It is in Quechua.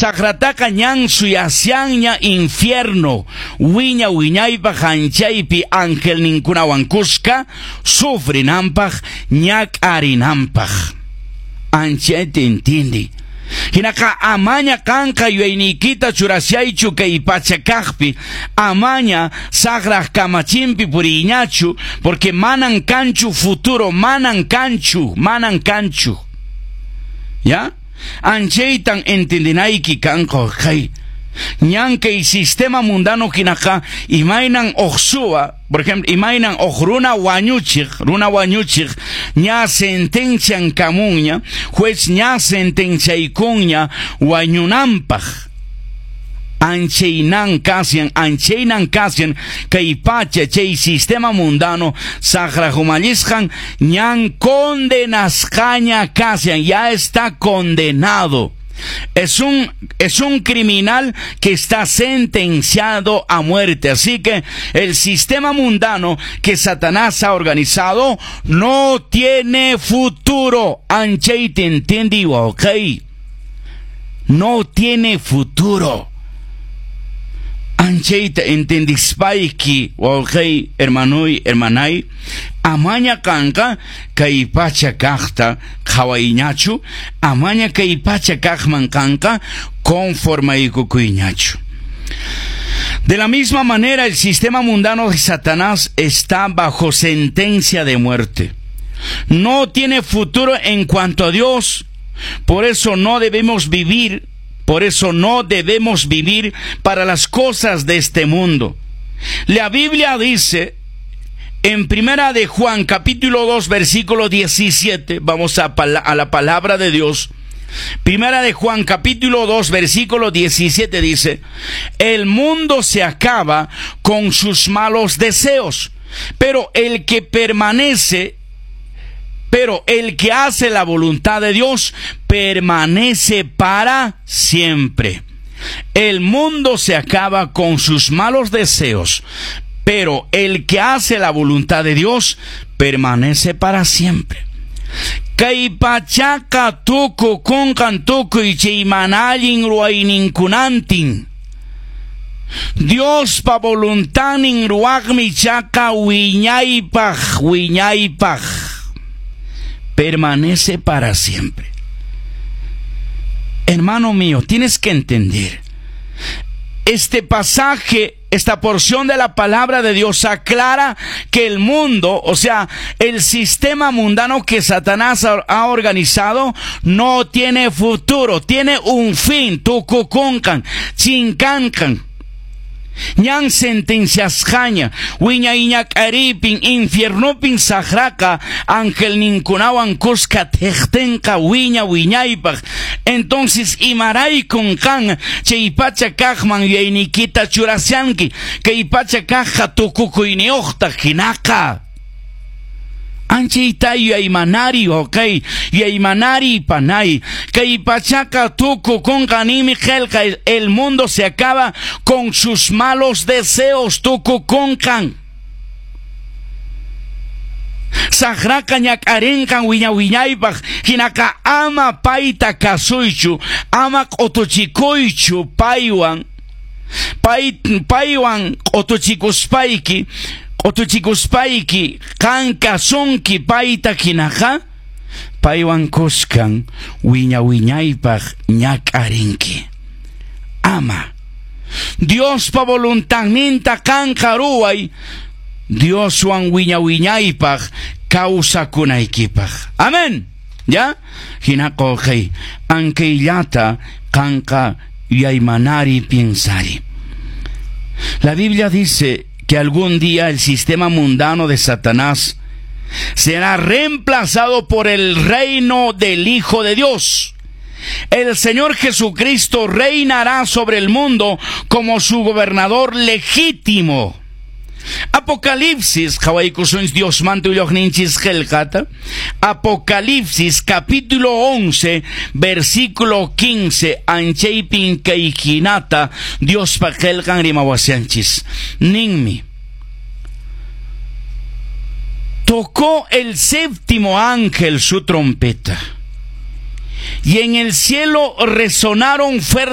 Saqrataqa ñan suyashanña infierno, wiña wiñaypaq anchaypi angelninkunawan kuska sufrinanpaq, ñak'arinanpaq. Anchayta entiende. Hinaqa amaña qanqa yuyayniykita churashaychu kay pacha kaqpi, amaña saqraq kamachinpi puriyñachu, porque manan kanchu futuro, manan kanchu, manan kanchu. ¿Ya? Anchaytan entendinayki kanqa kay. Ñan kay sistema mundano hinaqa imaynan uq suwa, por ejemplo, imaynan uq runa wañuchiq, ña sentencian kamunña, juez ña sentenciaykunña wañunanpaq. Anchaynan kashan kay pacha, chay sistema mundano, saqraq umallisqan ñan condenasqaña kashan, ya está condenado. Es un criminal que está sentenciado a muerte. Así que el sistema mundano que Satanás ha organizado no tiene futuro. Anchayta entiende, ok. No tiene futuro. Anchayta entendispayki, ok, hermanoy, hermanay, amaña kanqa kay pacha kaqta qhawayñachu, amaña kay pacha kaqman kanqa conformaykukuyñachu. De la misma manera, el sistema mundano de Satanás está bajo sentencia de muerte. No tiene futuro en cuanto a Dios. Por eso no debemos vivir para las cosas de este mundo. La Biblia dice en Primera de Juan capítulo 2 versículo 17, vamos a la palabra de Dios. Primera de Juan capítulo 2 versículo 17 dice: "El mundo se acaba con sus malos deseos, pero el que hace la voluntad de Dios permanece para siempre". El mundo se acaba con sus malos deseos, pero el que hace la voluntad de Dios permanece para siempre. Kay pachaqa tukukunqan tukuy chay mana allin ruwayninkunantin. Diospa voluntadnin ruwaqmi ichaqa wiñaypaq, wiñaypaq. Permanece para siempre. Hermano mío, tienes que entender. Este pasaje, esta porción de la palabra de Dios aclara que el mundo, o sea, el sistema mundano que Satanás ha organizado, no tiene futuro, tiene un fin, tukukunqan, chinkanqan. Ñan sentenciasqaña, wiñay ñak'ariypin, infiernopin saqraqa angelninkunawan kuska thiqtinqa wiña wiñaypaq. Entonces, imaraykun qan chay pacha kaqman yuyayniykita churashanki? Kay pacha kaqqa tukukuyniyuqtaq hinaqa. Anchayta yuyaymanari, ok, yuyaymanari panay. Kay pachaqa tukukunqa ninmi qelqa, el mundo se acaba con sus malos deseos, tukukunqan. Saqraqa ñak'arinqan wiña wiñaypaq, hinaqa ama payta kasuychu, ama q'utuchikuychu paywan. Paywan q'utuchikuspayki qan kasunki payta hinaqa paywan kuskan wiña wiñaypaq ñak'arinki. Ama. Diospa voluntadninta qanqa ruway, Dioswan wiña wiñaypaq kawsakunaykipaq. Amén. ¿Ya? Hinaqa wawqey, ankayllata qanqa yuyaymanari, piensari. La Biblia dice que algún día el sistema mundano de Satanás será reemplazado por el reino del Hijo de Dios. El Señor Jesucristo reinará sobre el mundo como su gobernador legítimo. Apocalipsis, Dios Apocalipsis capítulo 11, versículo 15, anchaypin kayhinata Diospa qelqan rimawashanchis. Ninmi: "Tocó el séptimo ángel su trompeta, y en el cielo resonaron fuertes